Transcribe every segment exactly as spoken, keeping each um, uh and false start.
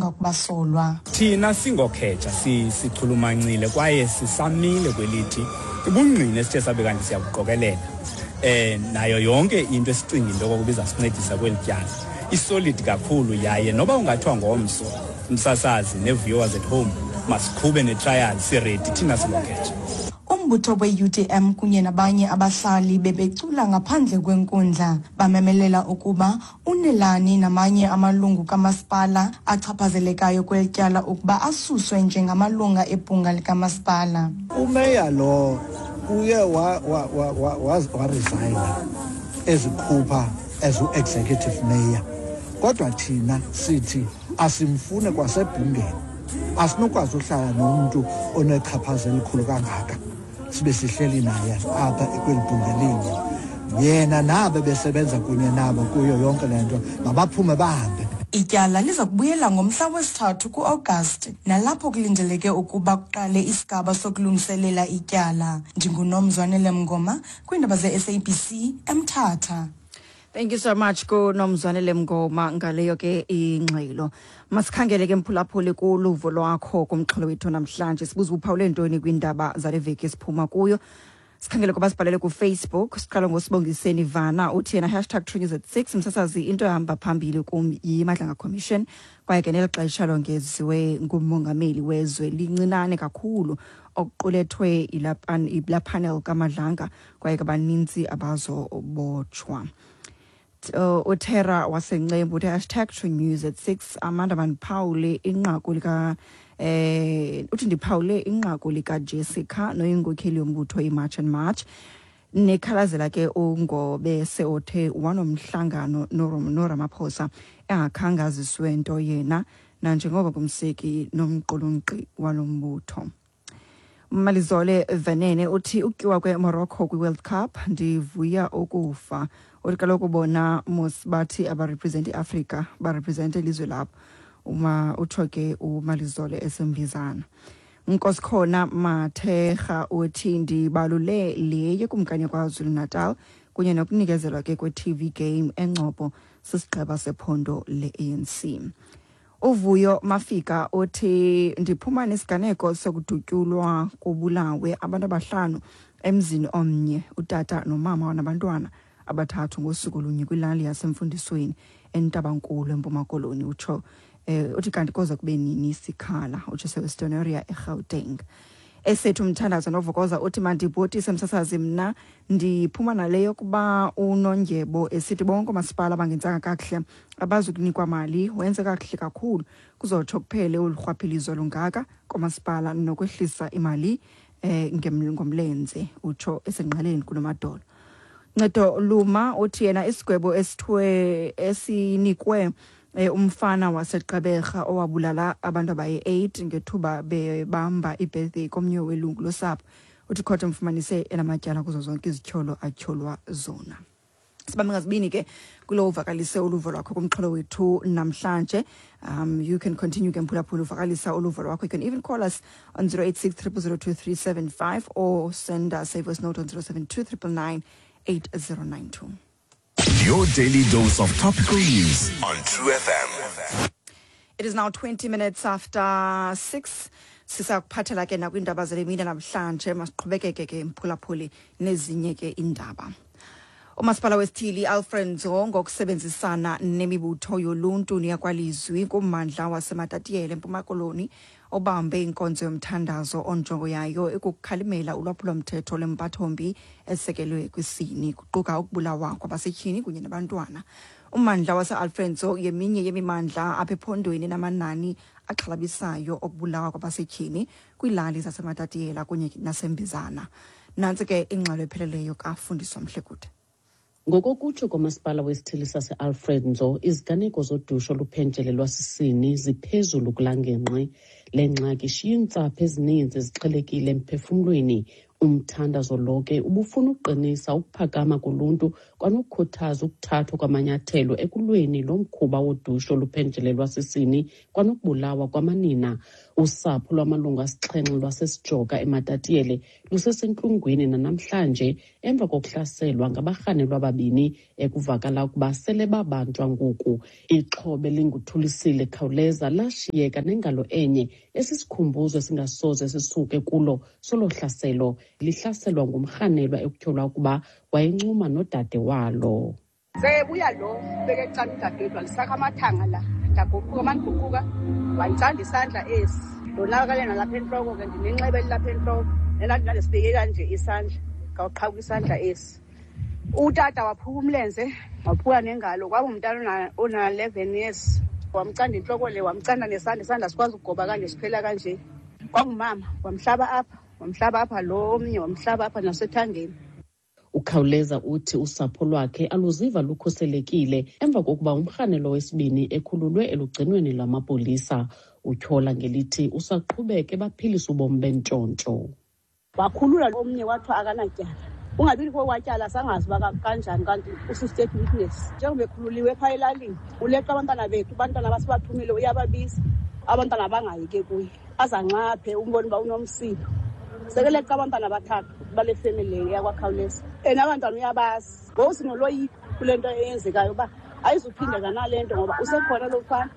Ngakubasolwa. Thina singokheja sichulumancile kwaye sisamile kwelithi ubungqina esithe sabe kanti siyabuqokelela eh nayo yonke into esicinga into yokokuba izasincedisa kweli tyala isolid kakhulu, yaye noba ungathiwa ngomso, umsasazi nee-viewers at home, masiqhube netrial, siready thina singokheja. Umbutho we-U D M kunye nabanye abahlali bebecula ngaphandle kwenkundla, bamemelela ukuba uNelani namanye amalungu kamasipala achaphazelekayo kweli tyala ukuba asuswe njengamalunga ebhunga likamasipala. Umeya lo uye waresigna ezikhupha as u-executive mayor, kodwa thina sithi asimfune kwasebhungeni. Asinokwazi uhlala nomntu onechaphaza elikhulu kangaka sibe sihleli naye apha kweli bhunga linye. Yena nabo besebenza kunye nabo kuyo yonke le nto, mabaphume bahambe. Ityala liza kubuyela ngomhla wesithathu kuAgasti, nalapho kulindeleke ukuba kuqale isigaba sokulungiselela ityala. NdinguNomzwanele Mngoma kwiindaba ze-S A B C eMthatha. Thank you so much kuNomzwanele Mngoma ngaleyo ke ingxelo. Masikhangele ke, mphulaphuli, kuluvo lwakho kumxholo wethu namhlanje. Sibuza, uphawule ntoni kwiindaba zale veki esiphuma kuyo? Sikhangele kwabasibhalele kuFacebook. Siqala ngoSibongiseni Vana, uthi yena hashtag True News at six, msasazi, into ehamba phambili kum yiMadlanga Commission, kwaye ke neli xesha longeziwe ngumongameli wezwe lincinane kakhulu okuqulethwe yilaa panel kaMadlanga, kwaye ke baninzi abazobotshwa. uh, uTerra waseNcembu uthi hashtag True News at six, Amanda, mandiphawule inqaku lika eh uthi ndiphawule inqaku lika Jessica noyinkokheli yombutho iMarch and March, nekhalazela ke uNgobese othe wanomhlangano noRamaphosa engakhange aziswe nto yena, nanjengoko kumseki nomqulunqi walo mbutho. Malizole Venene uthi ukutyiwa kweMorocco kwi-World Cup, ndivuya ukufa. Uthi kaloku bona mos bathi abarepresent iAfrika, barepresente ilizwe labo. Uma utsho ke uMalizole eseMbizana. Nkosikhona Mathega uthi ndibalule le yekumkani KwaZulu Natal kunye nokunikezelwa ke kwe-T V game eNgcobo sisigqeba sephondo le-A N C. Uvuyo Mafika uthi ndiphuma nesiganeko sokudutyulwa kubulawe abantu abahlanu emzini omnye, utata nomama nabantwana abathathu, ngosuku olunye kwilali yaseMfundisweni eNtabankulu eMpuma Koloni. Utsho eh uthi kanti koza kube nini sikhala? Utsho seWestern eGauteng. Esethu Umthandazo Novokoza uthi mandibhotise, msasazi, mna ndiphuma nale yokuba uNondyebo esithi bonke oomasipala abangenzanga kakuhle abazukunikwa mali, wenze kakuhle kakhulu, kuzotsho kuphele olu rhwaphilizo lungaka koomasipala nokwehlisa imali eh ngomlenze. Utsho esengqaleni kunomadolo. Ncedo Luma uthi yena isigwebo esithiwe esinikwe eh, umfana waseGqeberha owabulala abantu abayi-eight ngethuba bebamba ibirthday komnye welungu losapho, uthi khothe mfumanise enamatyala kuzo zonke izityholo atyholwa zona. Sibambe ngazibini ke kulo uvakalise uluvo lwakho kumxholo wethu namhlanje. um you can continue ke, mphulaphula, uvakalisa uluvo lwakho. You can even call us on zero eight six zero zero two three seven five or send us a voice note on zero seven two nine nine nine eight zero nine two. Your daily dose of topical news on True F M. It is now twenty minutes after six. Sisakuphathela ke nakwiindaba zale mini namhlanje. Masiqhubekeke ke, mphulaphuli, nezinye ke indaba. Umasipala wesithili Alfred Nzo ngokusebenzisana nemibutho yoluntu neyakwalizwi kummandla waseMatatiele eMpuma Koloni obambe inkonzo yomthandazo onjongo yayo ikukukhalimela ulwaphulomthetho lwempathombi esekelwe kwisini, kuquka ukubulawa kwabasetyhini kunye nabantwana. Ummandla wase-Alfred Nzo yeminye yemimandla apha ephondweni namanani axhalabisayo okubulawa kwabasetyhini kwiilali zaseMatatiyela kunye naseMbizana. Nantsi ke ingxelo epheleleyo kaFundiswa Mhlekude. Ngokokutsho komasipala wesithili sase-Alfred Nzo, iziganeko zodushe oluphenjelelwa sisini ziphezulu kulaa ngingqi. Le ngxaki ishiya iintsapho ezininzi zixhelekile emphefumlweni. Umthandazo lo ke ubufuna ukuqinisa ukuphakama koluntu kwanokukhuthaza ukuthathwa kwamanyathelo ekulweni lo mkhuba wodushe oluphenjelelwa sisini kwanokubulawa kwamanina. Usapho lwamalungu asixhenxe lwaseSijoka eMatatiele lusesentlungwini nanamhlanje emva kokuhlaselwa ngabarhanelwa ababini ekuvakala ukuba sele babanjwa ngoku. Ixhobe linguthulisile Khawuleza lashiyeka nengalo enye esisikhumbuzo esingasoze sisuke kulo solo hlaselo, lihlaselwa ngumrhanelwa ekutyholwa ukuba wayencuma nodade walo. Sebuya lo bekecala udadewethu walisakha amathanga la, ndaguquka mandiguquka wandicanda isandla esi, ndonakale nalapha entloko ke, ndinenxeba elilapha entloko nelandinandisibeke kanje isandla, ngawuqhawuka isandla esi. Utata waphuka umlenze, waphuka nengalo, kwaba umntana ona-eleven years, wamcanda intloko le, wamcanda nesandla, isandla sikwazi ukugoba kanje siphela kanje. Kwangumama wamhlaba apha, wamhlaba apha lo omnye, wamhlaba apha nasethangeni. Ukhawuleza uthi usapho lwakhe aluziva lukhuselekile emva kokuba umrhanelwa wesibini ekhululwe elugcinweni lwamapolisa. Utyhola ngelithi usaqhubeke baphilisa ubomi bentshontsho. Wakhulula omnye wathiwa akanatyala. Ungabi kokwatyala sangazi uba kanjani kanti usi-state witness. Njengoba ekhululiwe phaa elalini, uleqa abantwana bethu, abantwana abasibathumile uyababiza, abantwana bangayi ke kuye. Azanxaphe umbone uba unomsindo. Sekeleqa abantwana abathathu bale family yakwaKhawuleza. And abantwana uyabazi. Ngoku sinoloyiko kule nto eyenzekayo uba ayizuphindeka nale nto ngoba usekhona lo mfana.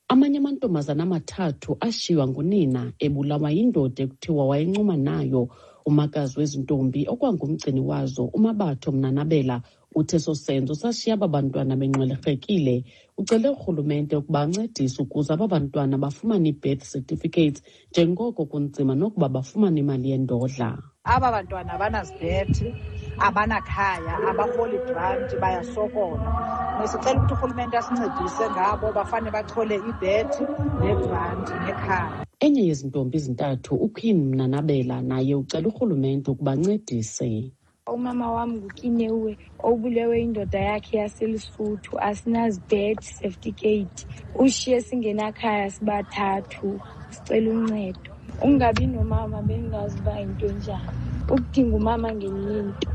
Amanye amantombazana amathathu ashiywa ngunina ebulawa yindoda ekuthiwa wayencuma nayo. Umakazi wezintombi okwangumgcini wazo uMabatho Mnanabela uthe eso senzo sashiya aba bantwana benxwelerhekile. Ucele urhulumente ukuba ancedise ukuze aba bantwana bafumane ii-birth certificates njengoko kunzima nokuba bafumane imali yendodla. Aba bantwana abanazibhethi, abanakhaya, abarholi granti, bayasokola. Sicela ukuthi urhulumente asincedise ngabo bafane bathole ibhethi negranti nekhaya. Enye yezintombi ezintathu uQueen Mnanabela naye ucela urhulumente ukuba ancedise. Umama wam nguKinewe obulewe indoda yakhe yaseLesotho, asinazibhethi certificate, ushiye singenakhaya sibathathu, sicela uncedo. Ungabi nomama bengazi uba yinto enjani, ukudinga umama ngenye into.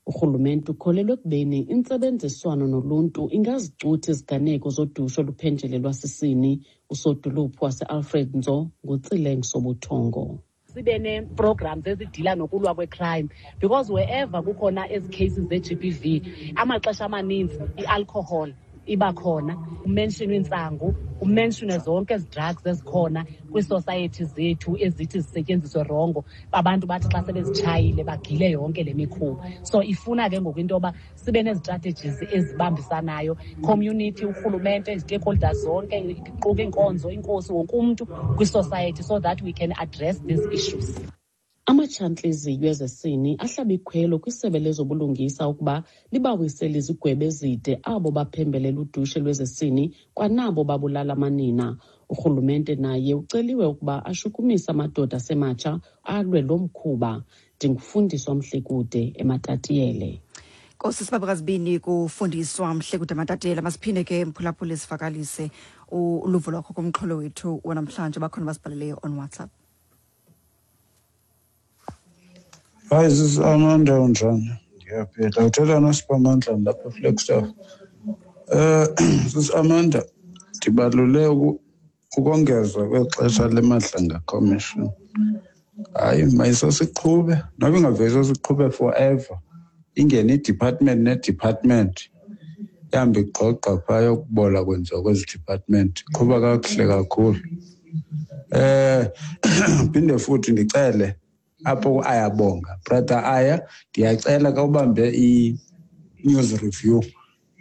Urhulumente ukholelwa ekubeni intsebenziswano noluntu ingazicutha iziganeko zodushe oluphenjelelwa sisini. Usodolophu waseAlfred Nzo nguTsileng Sobuthongo. Sibe nee-programs ezidila nokulwa kwe-crime because wherever kukhona ezi cases ze-G B V, amaxesha amaninzi i-alcohol iba khona, kumentionwe intsangu, kumentionwe zonke ezi drugs ezikhona kwiisociety zethu ezithi zisetyenziswe rongo, abantu bathi xa sebezitshayile bagile yonke le mikhuba. So ifuna ke ngoku into yoba sibe nezi-strategies ezibambisanayo, community, urhulumente, izi-stakeholders zonke, iquka iinkonzo, inkosi, wonke umntu kwisociety so that we can address these issues. Amatshantliziyo ezesini ahlaba ikhwelo kwisebe lezobulungisa ukuba libawisele izigwebo ezide abo baphembelela udushe lwezesini kwanabo babulala amanina. Urhulumente naye uceliwe ukuba ashukumise amadoda asematsha alwe lo mkhuba. Ndingufundiswa Mhlekude eMatatiele. Nkosi sibabukazibini kufundiswa Mhlekude eMatatiele. Masiphinde ke mphulaphuli sivakalise uluvo lwakho kumxholo wethu wanamhlanje. Bakhona basibhaleleyo on WhatsApp. Hi, this is Amanda unjani? Ndiyaphila. Uthetha noSiphamandla lapha eFlagstaff. Eh, this is Amanda. Ndibalule ukongezwa kwexesha leMadlanga Commission. Hayi, mayisosiqhube, noba ingavele sosiqhube forever. Ingene i-department ne-department. Ihambe igqogqa phaa yokubola kwenziwa kwezi department. Iqhuba kakuhle kakhulu. Eh, phinde futhi ndicele apho ayabonga brother Aya, ndiyacela ka ubambe i-news review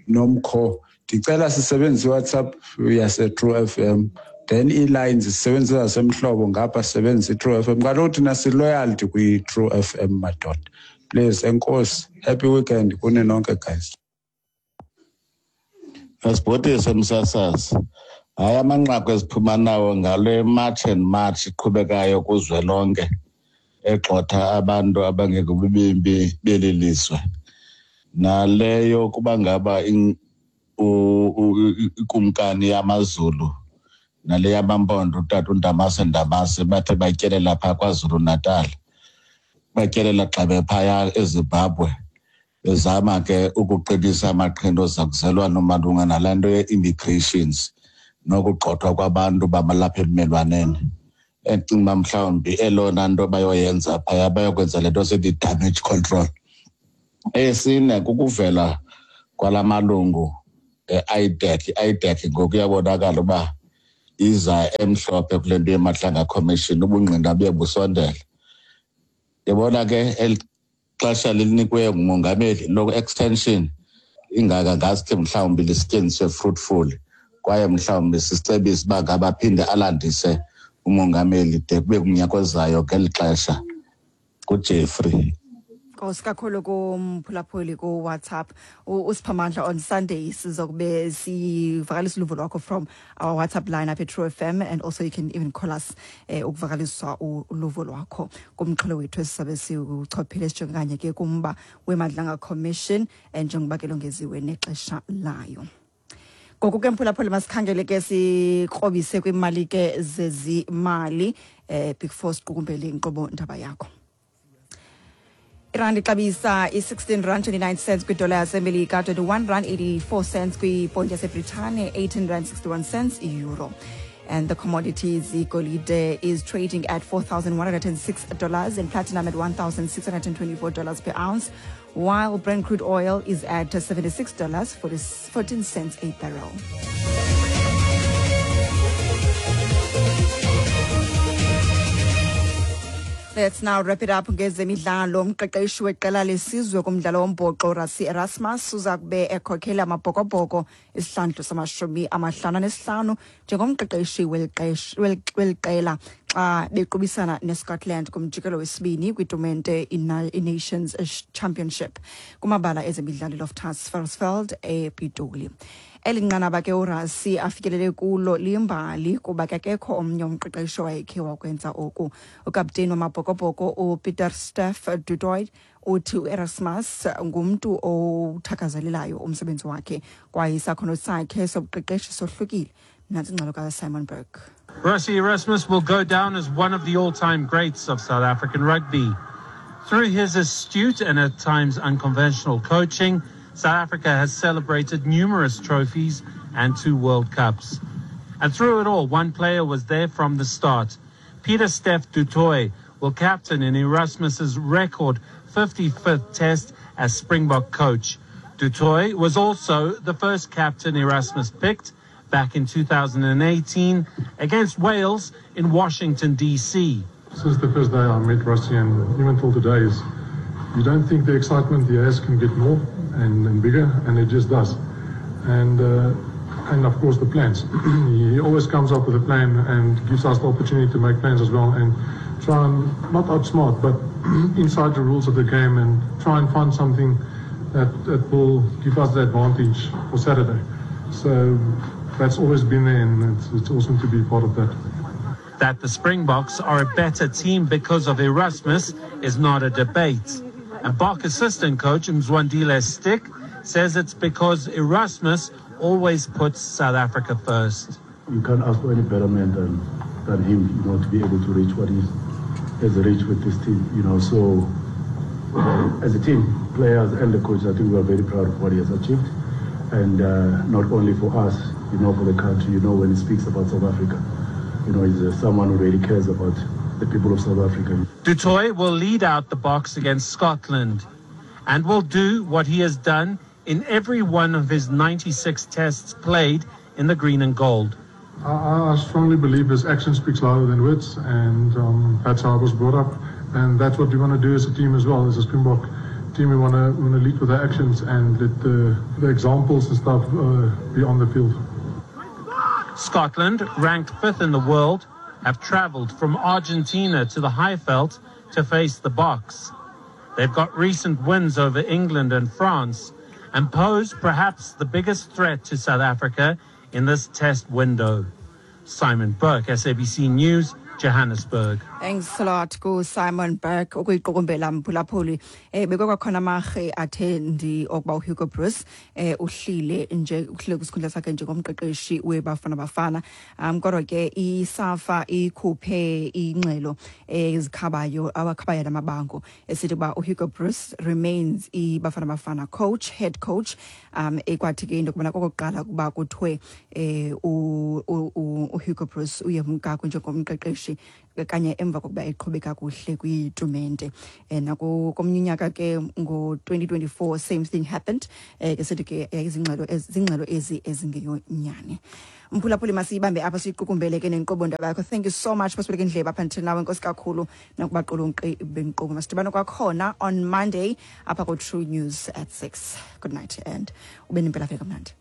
nomkho. Ndicela sisebenzise iWhatsApp yase True F M, then ii-lines sisebenzise zasemhlobo ngapha sisebenzise i-True F M. Kaloku thina si-loyalty kwi-True F M madoda. Please, enkosi, happy weekend kuni nonke guys. Asibhotise msasazi. Hayi, amanqaku eziphuma nawo ngale March and March iqhubekayo kuzwelonke egxotha abantu abangekubimbi beli lizwe. Naleyo kuba ngaba ikumkani yamaZulu nale yamaMpondo utata uNdamase Ndamase bathe batyelela phaa KwaZulu Natal. Batyelela xa bephaya eZimbabwe bezama ke ukuqinisa amaqhinga ozakuzelwano malunga nalaa nto ye-immigrations nokugxothwa kwabantu bamalapha ebumelwaneni. Endicinga uba mhlawumbi elona nto bayoyenza phaya bayokwenza le nto sithi damage control. Eyesine kukuvela kwala malungu e-I D E C. I-I D E C ngoku iyabonakala uba iza emhlophe kule nto yeMadlanga Commission, ubungqina buye busondela. Yabona ke eli xesha lilinikwe ngumongameli loku-extension ingaka ngaske mhlawumbi lisetyenziswe fruitful, kwaye mhlawumbi sisicebise uba ngaba aphinde alandise umongameli de kube kumnyaka ozayo ngeli xesha. KuJeffrey. Nkosi kakhulu kumphulaphuli ku-WhatsApp. Usiphamandla on Sunday sizokube sivakalisa uluvo lwakho from our WhatsApp line up at True F M, and also you can even call us eh, ukuvakalisa uluvo lwakho kumxholo wethu esisabe siwuchophile sijonge kanye ke kumba weMadlanga Commission njengoba ke longeziwe nexesha layo. Ngoku ke mphulaphuli masikhangele ke sikrobise kwimali ke zezimali eh before siqukumbele inkqubo ndaba yakho. Irandi ixabisa i-sixteen rand twenty-nine cents kwidola yaseMelika, twenty-one rand eighty-four cents kwiponti yaseBritane, eighteen rand sixty-one cents euro. And the commodities, igolide is trading at four thousand one hundred six dollars and platinum at one thousand six hundred twenty-four dollars per ounce, while Brent crude oil is at seventy-six dollars fourteen cents a barrel. Let's now wrap it up ngezemidlalo. Umqeqeshi weqela lesizwe kumdlalo wombhoxo Rassie Erasmus uza kube ekhokhela amabhokobhoko isihlandlo samashumi amahlanu anesihlanu njengomqeqeshi weliqela xa bequbisana neScotland kumjikelo wesibini kwitumente i-Nations Championship kumabala ezemidlalo Loftus Versfeld ePitoli. Eli nqanaba ke uRassie afikelele kulo limbali kuba akekho omnye umqeqeshi owayekhe wakwenza oku. Ukapteni wamabhokobhoko uPieter Steph du Toit uthi uErasmus ngumntu owuthakazelelayo umsebenzi wakhe kwaye isakhono sakhe sobuqeqeshi sohlukile. Nantsi ingxelo kaSimon Burke. Rassie Erasmus will go down as one of the all-time greats of South African rugby. Through his astute and at times unconventional coaching, South Africa has celebrated numerous trophies and two World Cups. And through it all, one player was there from the start. Pieter Steph du Toit will captain in Erasmus's record fifty-fifth test as Springbok coach. Du Toit was also the first captain Erasmus picked back in two thousand eighteen against Wales in Washington, D C. Since the first day I met Rassie and even till today, is you don't think the excitement he has can get more and, and bigger, and it just does. And uh, and of course the plans. He always comes up with a plan and gives us the opportunity to make plans as well and try and not outsmart, but inside the rules of the game and try and find something that, that will give us the advantage for Saturday. So that's always been there, and it's, it's awesome to be part of that. That the Springboks are a better team because of Erasmus is not a debate. And Bok assistant coach Mzwandile Stick says it's because Erasmus always puts South Africa first. You can't ask for any better man than, than him, you know, to be able to reach what he has reached with this team, you know. So uh, as a team, players and the coach, I think we are very proud of what he has achieved. And uh, not only for us, you know, for the country, you know, when he speaks about South Africa, you know, he's uh, someone who really cares about the people of South Africa. Du Toit will lead out the Boks against Scotland and will do what he has done in every one of his ninety-six tests played in the green and gold. I, I strongly believe his action speaks louder than words, and um, that's how I was brought up. And that's what we want to do as a team as well, as a Springbok team. We want to we want to lead with our actions and let the, the examples and stuff uh, be on the field. Scotland, ranked fifth in the world, have travelled from Argentina to the Highveld to face the Boks. They've got recent wins over England and France and pose perhaps the biggest threat to South Africa in this test window. Simon Burke, S A B C News, Johannesburg. Thanks a lot ku-Simon Burke ukuyiqukumbela, mphulaphuli. eh bekwakhona amarhe athe ndi okuba uHugo Broos eh uhlile nje, uhlile kwisikhundla sakhe njengomqeqeshi weBafana Bafana. um kodwa ke iSAFA ikhuphe ingxelo ezikhabayo, awakhabayo namabango, esithi uba uHugo Broos remains iBafana Bafana coach, head coach. um ekwathi ke into yokubana kokokuqala ukuba kuthiwe eh u- u- u- uHugo Broos uyemka njengomqeqeshi kanye emva kokuba eqhube kakuhle kwitumente. um Nakomnye unyaka ke ngo-twenty twenty-four, same thing happened. um ke sithi ke eh, izingxelo ezi- zingxelo ezi ezingeyonyani. Mphulaphuli, masiyibambe apha, siyiqukumbele ke nenkqubo ndaba yakho. Thank you so much basibeleke indlebe apha until nawe. Enkosi kakhulu nakubaqulunqi benkqubo. Masidibane kwakhona on Monday apha ku-True News at six. Good night and ube nempelaveki kamnandi.